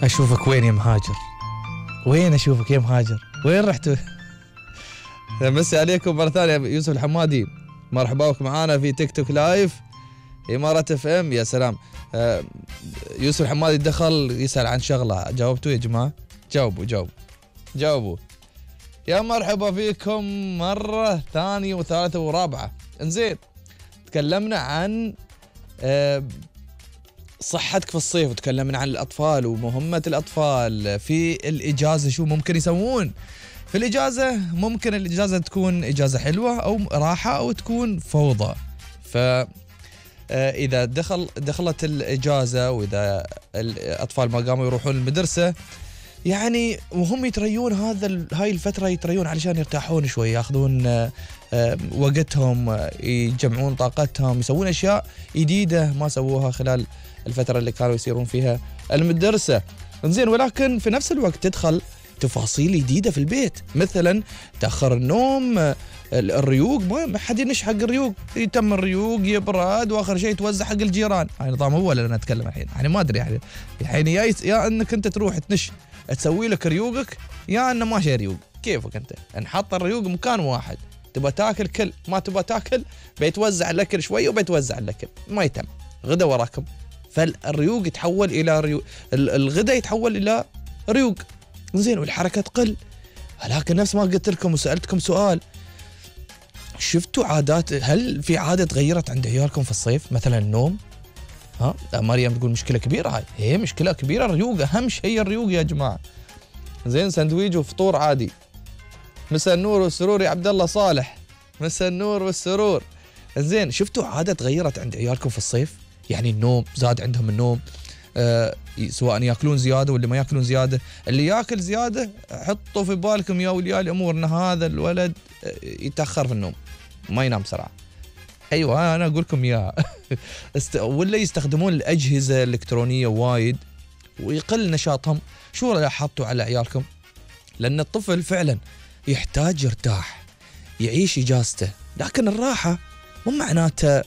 اشوفك وين يا مهاجر؟ وين اشوفك يا مهاجر؟ وين رحت؟ مسي عليكم مرة ثانية. يوسف الحمادي، مرحبا بك معانا في تيك توك لايف إمارة اف ام. يا سلام. يوسف الحمادي دخل يسأل عن شغلة، جاوبتوا يا جماعة؟ جاوبوا. يا مرحبا فيكم مرة ثانية وثالثة ورابعة. انزين، تكلمنا عن صحتك في الصيف، وتكلمنا عن الأطفال ومهمة الأطفال في الإجازة، شو ممكن يسوون في الإجازة. ممكن الإجازة تكون إجازة حلوة أو راحة أو تكون فوضى. إذا دخلت الإجازة وإذا الأطفال ما قاموا يروحون المدرسة، يعني وهم يتريون هاي الفترة يتريون علشان يرتاحون شوي، ياخذون وقتهم، يجمعون طاقتهم، يسوون أشياء جديدة ما سووها خلال الفترة اللي كانوا يسيرون فيها المدرسة. إنزين، ولكن في نفس الوقت تدخل تفاصيل جديدة في البيت، مثلا تأخر النوم، الريوق، ما حد ينش حق الريوق، يتم الريوق يبرد، واخر شيء توزع حق الجيران. هاي نظام هو اللي انا اتكلم الحين، يعني ما ادري يعني يا انك انت تروح تنش تسوي لك ريوقك، يا انه ما شي ريوق. كيفك انت؟ نحط الريوق مكان واحد، تبى تاكل كل، ما تبى تاكل بيتوزع الاكل شوي وبيتوزع الاكل، ما يتم غدا وراكم. فالريوق يتحول الى الغدا يتحول الى ريوق. زين، والحركه تقل. لكن نفس ما قلت لكم وسالتكم سؤال، شفتوا عادات؟ هل في عاده تغيرت عند عيالكم في الصيف؟ مثلا النوم. مريم تقول مشكله كبيره. هاي هي مشكله كبيره. الريوق اهم شيء، الريوق يا جماعه. زين، سندويج وفطور عادي. مساء النور والسرور يا عبد الله صالح، مساء النور والسرور. زين، شفتوا عاده تغيرت عند عيالكم في الصيف؟ يعني النوم زاد عندهم، النوم سواء ياكلون زياده ولا ما ياكلون زياده. اللي ياكل زياده حطوا في بالكم يا اولياء الامور ان هذا الولد يتاخر في النوم، ما ينام بسرعه. ايوه انا اقول لكم يا ولا يستخدمون الاجهزه الالكترونيه وايد ويقل نشاطهم. شو لاحظتوا على عيالكم؟ لان الطفل فعلا يحتاج يرتاح، يعيش اجازته، لكن الراحه مو معناته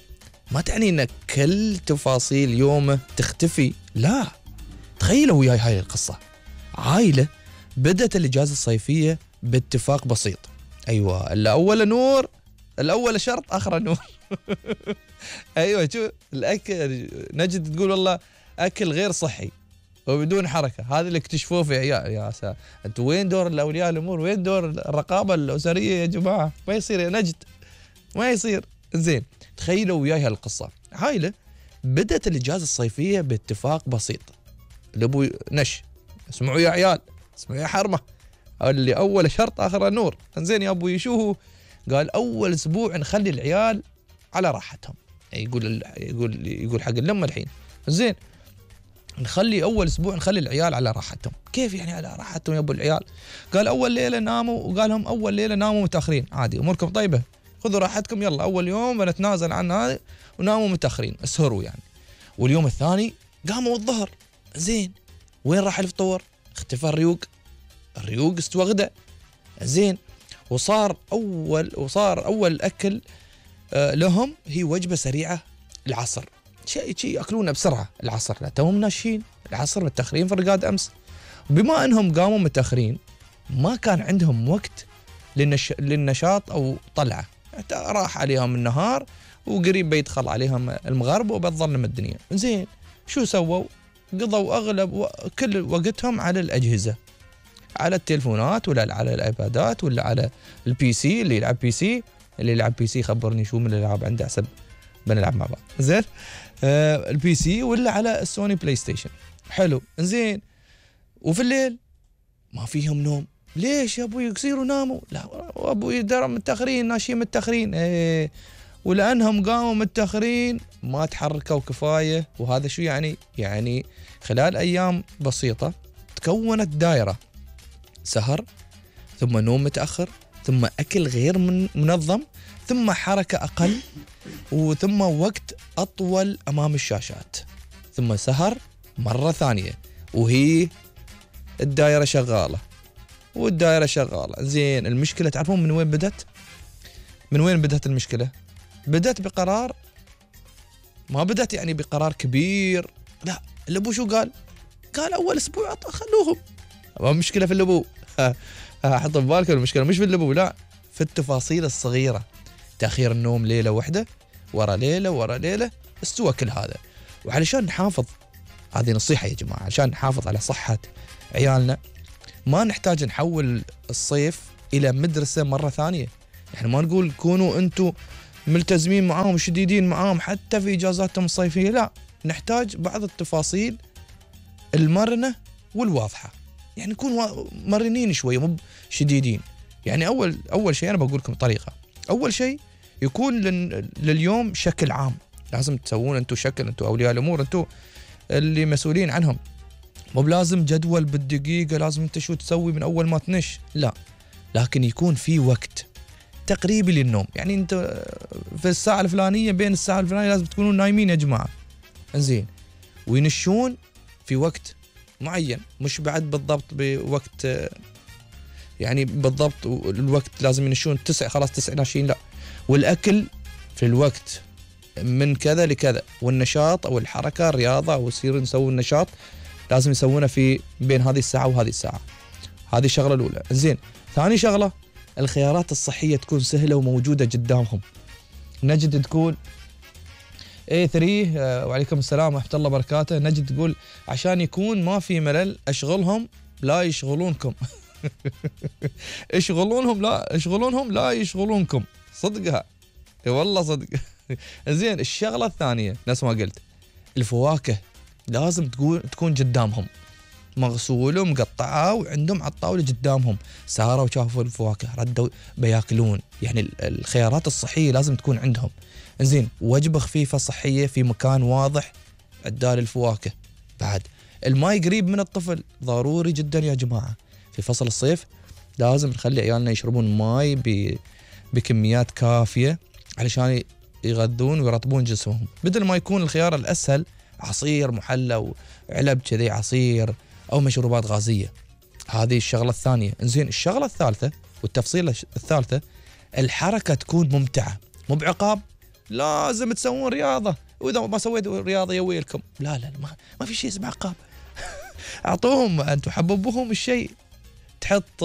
ما تعني ان كل تفاصيل يومه تختفي. لا، تخيلوا وياي هاي القصه. عائله بدت الاجازه الصيفيه باتفاق بسيط. ايوه، الاول نور، الاول شرط اخر نور. ايوه، شو الاكل؟ نجد تقول والله اكل غير صحي وبدون حركه. هذا اللي اكتشفوه في عيال. يا ساتر، انتوا وين دور الاولياء الامور؟ وين دور الرقابه الاسريه يا جماعه؟ ما يصير يا نجد، ما يصير. زين، تخيلوا وياي هالقصه. عائله بدت الاجازه الصيفيه باتفاق بسيط. الابو نش، اسمعوا يا عيال، اسمعوا يا حرمه، اللي اول شرط اخر نور. زين يا ابوي، شو هو؟ قال اول اسبوع نخلي العيال على راحتهم. يقول حق الام الحين. زين، نخلي اول اسبوع نخلي العيال على راحتهم. كيف يعني على راحتهم يا ابو العيال؟ قال اول ليله ناموا، وقال لهم اول ليله ناموا متاخرين عادي، اموركم طيبه، خذوا راحتكم، يلا اول يوم بنتنازل عن هذا وناموا متاخرين، اسهروا يعني. واليوم الثاني قاموا الظهر. زين، وين راح الفطور؟ اختفى الريوق استوى غدا. زين، وصار اول اكل لهم هي وجبه سريعه العصر، شيء ياكلونه بسرعه العصر. لا توهم ناشين العصر، متاخرين في الرقاد امس. بما انهم قاموا متاخرين ما كان عندهم وقت للنشاط او طلعه، راح عليهم النهار وقريب بيدخل عليهم المغرب وبتظلم الدنيا. زين، شو سووا؟ قضوا اغلب كل وقتهم على الاجهزه، على التلفونات ولا على الايبادات ولا على البي سي. اللي يلعب بي سي، خبرني شو من الالعاب عنده حسب بنلعب مع بعض. زين، البي سي ولا على السوني بلاي ستيشن. حلو. زين، وفي الليل ما فيهم نوم. ليش يا ابوي يصيروا ناموا؟ لا ابوي درم متاخرين، ناشين متاخرين. ولانهم قاموا متاخرين ما تحركوا كفايه. وهذا شو يعني؟ يعني خلال ايام بسيطه تكونت دائره سهر، ثم نوم متاخر، ثم اكل غير منظم، ثم حركه اقل، وثم وقت اطول امام الشاشات، ثم سهر مره ثانيه، وهي الدائره شغاله. زين، المشكله تعرفون من وين بدت؟ المشكله بدت بقرار، ما بدت يعني بقرار كبير. لا، الابو شو قال؟ قال أول أسبوع خلوهم، ما مشكلة في اللبو. حط في بالك المشكلة مش في اللبو، لا، في التفاصيل الصغيرة. تأخير النوم ليلة واحدة ورا ليلة ورا ليلة استوى كل هذا. وعلشان نحافظ، هذه نصيحة يا جماعة، عشان نحافظ على صحة عيالنا ما نحتاج نحول الصيف إلى مدرسة مرة ثانية. يعني ما نقول كونوا أنتوا ملتزمين معاهم شديدين معاهم حتى في إجازاتهم الصيفية، لا، نحتاج بعض التفاصيل المرنة والواضحة. يعني نكون مرنين شوية مو شديدين. يعني أول شيء أنا بقول لكم طريقة. أول شيء يكون لليوم شكل عام لازم تسوون أنتوا شكل، أنتوا أولياء الأمور، أنتوا اللي مسؤولين عنهم. مو بلازم جدول بالدقيقة لازم أنت شو تسوي من أول ما تنش، لا، لكن يكون في وقت تقريبي للنوم. يعني أنت في الساعة الفلانية بين الساعة الفلانية لازم تكونوا نايمين يا جماعة، إنزين، وينشون في وقت معين، مش بعد بالضبط بوقت، يعني بالضبط الوقت لازم ينشون 9 خلاص 9 ناشين، لا، والأكل في الوقت من كذا لكذا، والنشاط أو الحركة الرياضة أو يصير نسوي النشاط لازم يسوونه في بين هذه الساعة وهذه الساعة. هذه الشغلة الأولى. زين، ثاني شغلة الخيارات الصحية تكون سهلة وموجودة قدامهم. نجد تقول A3 وعليكم السلام ورحمة الله وبركاته، نجد تقول عشان يكون ما في ملل أشغلهم لا يشغلونكم. اشغلونهم لا يشغلونكم، صدقها، اي والله صدق. زين، الشغلة الثانية نفس ما قلت، الفواكه لازم تكون قدامهم مغسولة ومقطعة وعندهم على الطاولة قدامهم، ساروا وشافوا الفواكه ردوا بياكلون. يعني الخيارات الصحية لازم تكون عندهم. زين، وجبة خفيفة صحية في مكان واضح عدال الفواكه. بعد الماء قريب من الطفل ضروري جدا يا جماعة. في فصل الصيف لازم نخلي عيالنا يشربون ماء بكميات كافية علشان يغذون ويرطبون جسمهم، بدل ما يكون الخيار الأسهل عصير محلى وعلب كذي عصير أو مشروبات غازية. هذه الشغلة الثانية. إنزين، الشغلة الثالثة والتفصيلة الثالثة، الحركة تكون ممتعة، مو بعقاب لازم تسوون رياضة وإذا ما سويتوا رياضة يويلكم، لا لا، ما في شيء اسمه عقاب. أعطوهم أنتوا حببوهم الشيء، تحط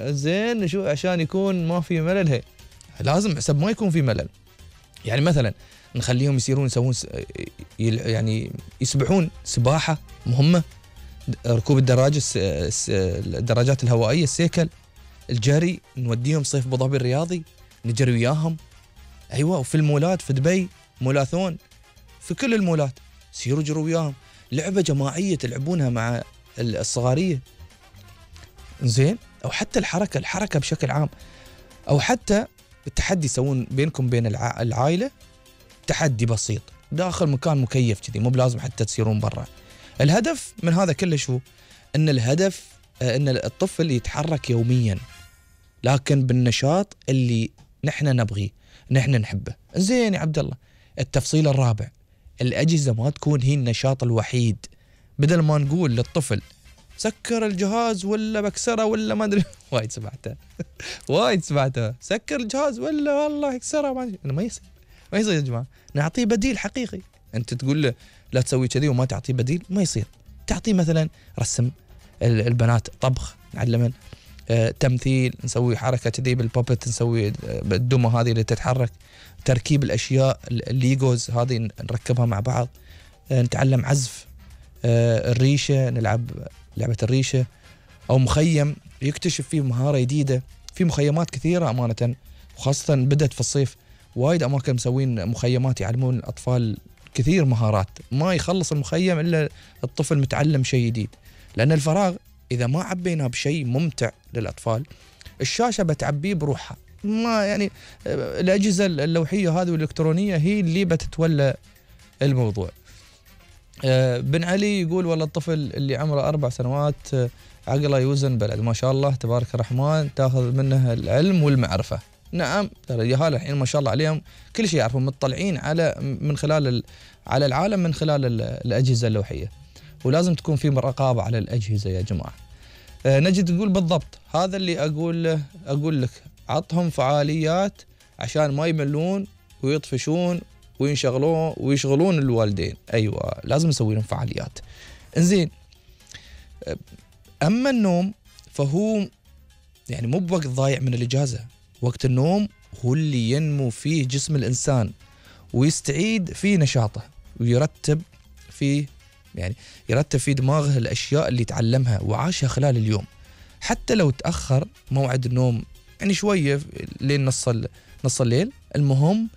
زين شو عشان يكون ما في ملل. هي لازم حسب ما يكون في ملل. يعني مثلا نخليهم يسوون يعني يسبحون سباحة مهمة، ركوب الدراجات الهوائية، السيكل، الجري، نوديهم صيف ابو ظبي الرياضي نجري وياهم. ايوه، وفي المولات في دبي مولاثون، في كل المولات سيروا جروا وياهم، لعبة جماعية تلعبونها مع الصغارية. زين، او حتى الحركة بشكل عام، او حتى التحدي يسوون بينكم بين العائلة تحدي بسيط داخل مكان مكيف كذي، مو بلازم حتى تسيرون برا. الهدف من هذا كله شو؟ ان الهدف ان الطفل يتحرك يوميا لكن بالنشاط اللي نحن نبغيه نحن نحبه. زين يا عبد الله، التفصيل الرابع، الأجهزة ما تكون هي النشاط الوحيد. بدل ما نقول للطفل سكر الجهاز ولا بكسره ولا ما ادري، وايد سمعتها سكر الجهاز ولا والله اكسره، ما يصير يا جماعه، نعطيه بديل حقيقي. انت تقول له لا تسوي كذي وما تعطيه بديل، ما يصير. تعطيه مثلا رسم، البنات طبخ نعلمن، تمثيل، نسوي حركه كذي بالبابت، نسوي بالدمى هذه اللي تتحرك، تركيب الاشياء الليجوز هذه نركبها مع بعض، نتعلم عزف، الريشه، نلعب لعبه الريشه، او مخيم يكتشف فيه مهاره جديده. في مخيمات كثيره امانه، وخاصه بدت في الصيف وايد اماكن مسوين مخيمات يعلمون الاطفال كثير مهارات، ما يخلص المخيم الا الطفل متعلم شيء جديد. لان الفراغ اذا ما عبيناه بشيء ممتع للاطفال، الشاشه بتعبيه بروحها. ما يعني الاجهزه اللوحيه هذه والالكترونيه هي اللي بتتولى الموضوع. بن علي يقول والله الطفل اللي عمره 4 سنوات عقله يوزن بلد، ما شاء الله تبارك الرحمن، تاخذ منه العلم والمعرفة. نعم، ترى الجهال الحين ما شاء الله عليهم كل شيء يعرفون، مطلعين من خلال على العالم من خلال الأجهزة اللوحية، ولازم تكون في رقابة على الأجهزة يا جماعة. نجد تقول بالضبط هذا اللي أقول لك، عطهم فعاليات عشان ما يملون ويطفشون ويشغلون الوالدين. أيوة، لازم نسوي لهم فعاليات. انزين، أما النوم فهو يعني مو بوقت ضايع من الإجازة. وقت النوم هو اللي ينمو فيه جسم الإنسان ويستعيد فيه نشاطه ويرتب فيه، يعني يرتب في دماغه الأشياء اللي تعلمها وعاشها خلال اليوم. حتى لو تأخر موعد النوم يعني شوية لين نص الليل، المهم